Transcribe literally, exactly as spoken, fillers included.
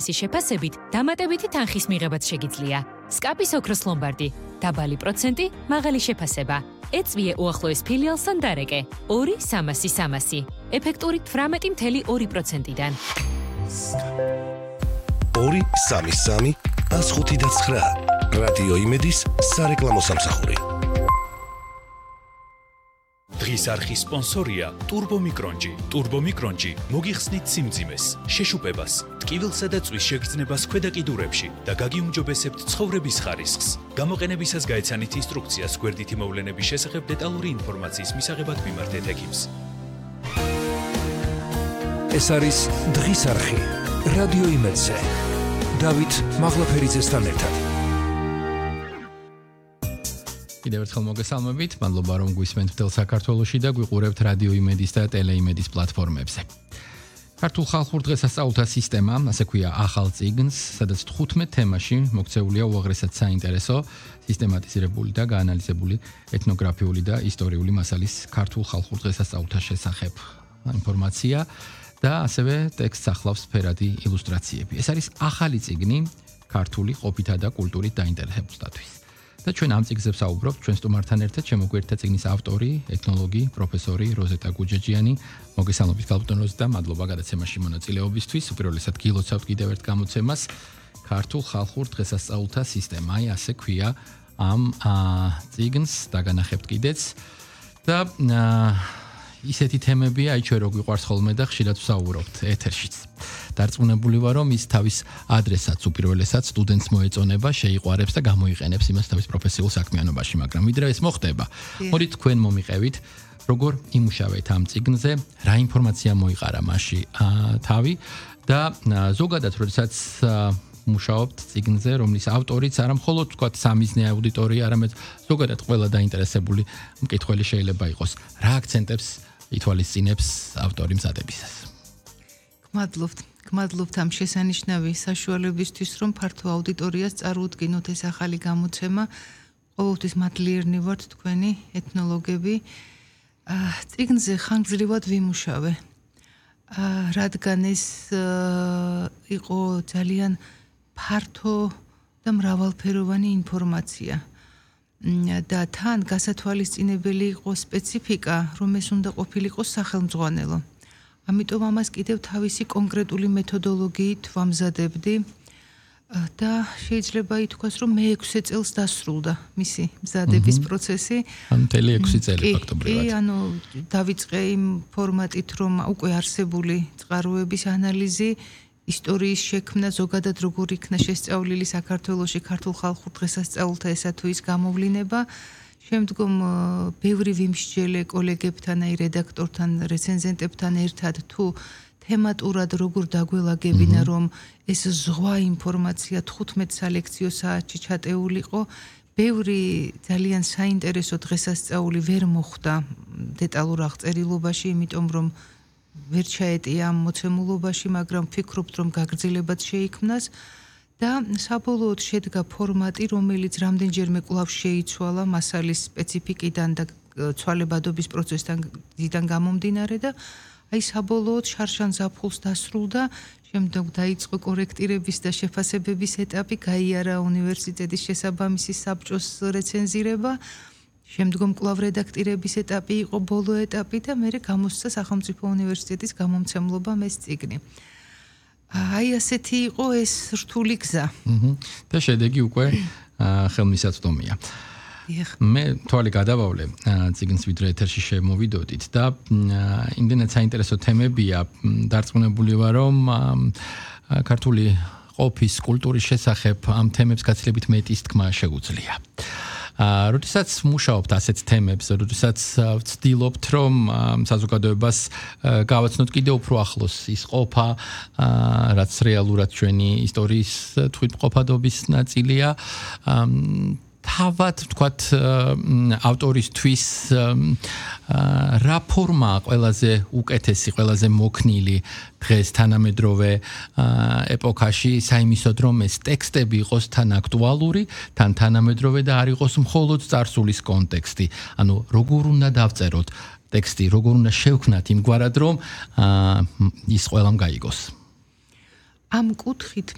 შეფასებით დამატებითი თანხის მიღებაც შეგიძლია. სკაპის ოქროს ლომბარდი, დაბალი პროცენტი, მაღალი შეფასება. ეწვიე უახლოეს ფილიალსთან დარეკე. ორი სამასი სამასი. ეფექტური თვრამეტი მცდე ორი პროცენტიდან. ორი სამი სამი ას ხუთი და ცხრა. რადიო იმედის სარეკლამო სამსახური. დღის არხის სპონსორია ტურბომიკრონჯი. ტურბომიკრონჯი მოგიხსნით სიმძიმეს, შეშუპებას, ტკივილსა და წვის შეგრძნებას ქვედა კიდურებში და გაგიუმჯობესებთ ცხოვრების ხარისხს. გამოყენებისას გაეცანით ინსტრუქციას გვერდითი მოვლენების შესახებ დეტალური ინფორმაციის მისაღებად მიმართეთ ექიმს. ეს არის დღის არხი რადიო იმედზე. დავით მაღლაფერიძესთან ერთად. კიდევ ერთხელ მოგესალმებით, მადლობა რომ გვისმენთ მთელ საქართველოში და გვიყურებთ რადიო იმედის და ტელეიმედის პლატფორმებზე. ქართულ ხალხურ დღესასწაულთა სისტემა, ასე ქვია ახალ წიგნს, სადაც თხუთმეტ თემაში მოქცეულია უაღრესად საინტერესო, სისტემატიზირებული და გაანალიზებული ეთნოგრაფიული და ისტორიული მასალის ქართულ ხალხურ დღესასწაულთა შესახებ ინფორმაცია და ასევე ტექსტს ახლავს ფერადი ილუსტრაციები. ეს არის ახალი წიგნი ქართული ყოფითა და კულტურით დაინტერესებულთათვის. და ჩვენ ამ წიგნზე ვსაუბრობთ ჩვენ სტუმართან ერთად შემოგვიერთდა წიგნის ავტორი, ეთნოლოგი, პროფესორი როზეტა გუჯეჯიანი. მოგესალმებით გალბატონ როზეტა, მადლობა გადაცემაში მონაწილეობისთვის. უპირველესად გილოცავთ კიდევ ერთ გამოცემას ქართულ ხალხურ დღესასწაულთა სისტემა. აი ასე ქვია ამ წიგნს დაგანახებთ კიდეც და ისეთი თემებია, აი ჩვენ რო გვიყვარს ხოლმე და ხშირად ვსაუბრობთ ეთერშიც. დარწმუნებული ვარ, რომ ის თავის ადრესატს უპირველესად სტუდენტს მოეწონება, შეიყვარებს და გამოიყენებს იმას თავის პროფესიულ საქმიანობაში, მაგრამ ვიდრე ეს მოხდება, მოდით თქვენ მომიყევით, როგორ იმუშავეთ ამ წიგნზე, რა ინფორმაცია მოიყარა მასში თავი და ზოგადად, როდესაც მუშაობთ წიგნზე, რომლის ავტორიც არა მხოლოდ თქვათ სამიზნე აუდიტორია, არამედ ზოგადად ყველა დაინტერესებული მკითხველი შეიძლება იყოს. რა აქცენტებს ითვალისწინებს ავტორი მზადებისას? გმადლობთ. გმადლობთ ამ შესანიშნავი საშუალებისთვის, რომ ფართო აუდიტორიას წარუდგინოთ ეს ახალი გამოცემა. ყოველთვის მადლიერნი ვართ თქვენი ეთნოლოგები. წიგნზე ხანგრძლივად ვიმუშავე. რადგან ეს იყო ძალიან ფართო და მრავალფეროვანი ინფორმაცია. და თან გასათვალისწინებელი იყო სპეციფიკა, რომ ეს უნდა ყოფილიყო სახელმძღვანელო. ამიტომ ამას კიდევ თავისი კონკრეტული მეთოდოლოგიით ვამზადებდი და შეიძლება ითქვას, რომ მე ექვსი წელს დასრულდა მისი მზადების პროცესი. ან მთელი ექვსი წელი ფაქტობრივად. კი, ანუ დავიწყე იმ ფორმატით, რომ უკვე არსებული წყაროების ანალიზი, ისტორიის შექმნა, ზოგადად როგორ იქნა შესწავლილი საქართველოში ქართულ ხალხურ დღესასწაულთა ესა თუ ის გამოვლინება. შემდგომ ბევრი ვიმსჯელე კოლეგებთან, აი რედაქტორთან, რეცენზენტებთან ერთად თუ თემატურად როგორ დაგველაგებინა, რომ ეს ზღვა ინფორმაცია თხუთმეტ სალექციო საათში ჩატეულიყო. ბევრი ძალიან საინტერესო დღესასწაული ვერ მოხვდა დეტალურ აღწერილობაში, იმიტომ რომ ვერ ჩაეტია ამ მოცემულობაში, მაგრამ ვფიქრობთ, რომ გაგრძელებაც შეიქმნას. და საბოლოოდ შედგა ფორმატი, რომელიც რამდენჯერმე კვლავ შეიცვალა მასალის სპეციფიკიდან და ცვალებადობის პროცესიდან გამომდინარე და აი საბოლოოდ შარშან ზაფხულს დასრულდა, შემდგომ დაიწყო კორექტირების და შეფასებების ეტაპი, გაიარა უნივერსიტეტის შესაბამისი საბჭოს რეცენზირება, შემდგომ კვლავ რედაქტირების ეტაპი იყო ბოლო ეტაპი და მერე გამოსცა სახელმწიფო უნივერსიტეტის გამომცემლობამ ეს წიგნი. აი ასეთი იყო ეს რთული გზა. და შედეგი უკვე ხელმისაწვდომია. მე თვალი გადავავლე წიგნს ვიდრე ეთერში შემოვიდოდით და იმდენად საინტერესო თემებია, დარწმუნებული ვარ, რომ ქართული ყოფის კულტურის შესახებ ამ თემებს გაცილებით მეტის თქმა შეუძლია. როდესაც მუშაობთ ასეთ თემებს, როდესაც ვცდილობთ, რომ საზოგადოებას გავაცნოთ კიდევ უფრო ახლოს ის ყოფა, რაც რეალურად ჩვენი ისტორიის თვითმყოფადობის ნაწილია, თავად ვთქვათ ავტორისთვის რა ფორმაა ყველაზე უკეთესი, ყველაზე მოქნილი დღეს თანამედროვე ეპოქაში, საიმისოდ რომ ეს ტექსტები იყოს თან აქტუალური, თან თანამედროვე და არ იყოს მხოლოდ წარსულის კონტექსტი. ანუ როგორ უნდა დავწეროთ ტექსტი, როგორ უნდა შევქნათ იმგვარად, რომ ის ყველამ გაიგოს. ამ კუთხით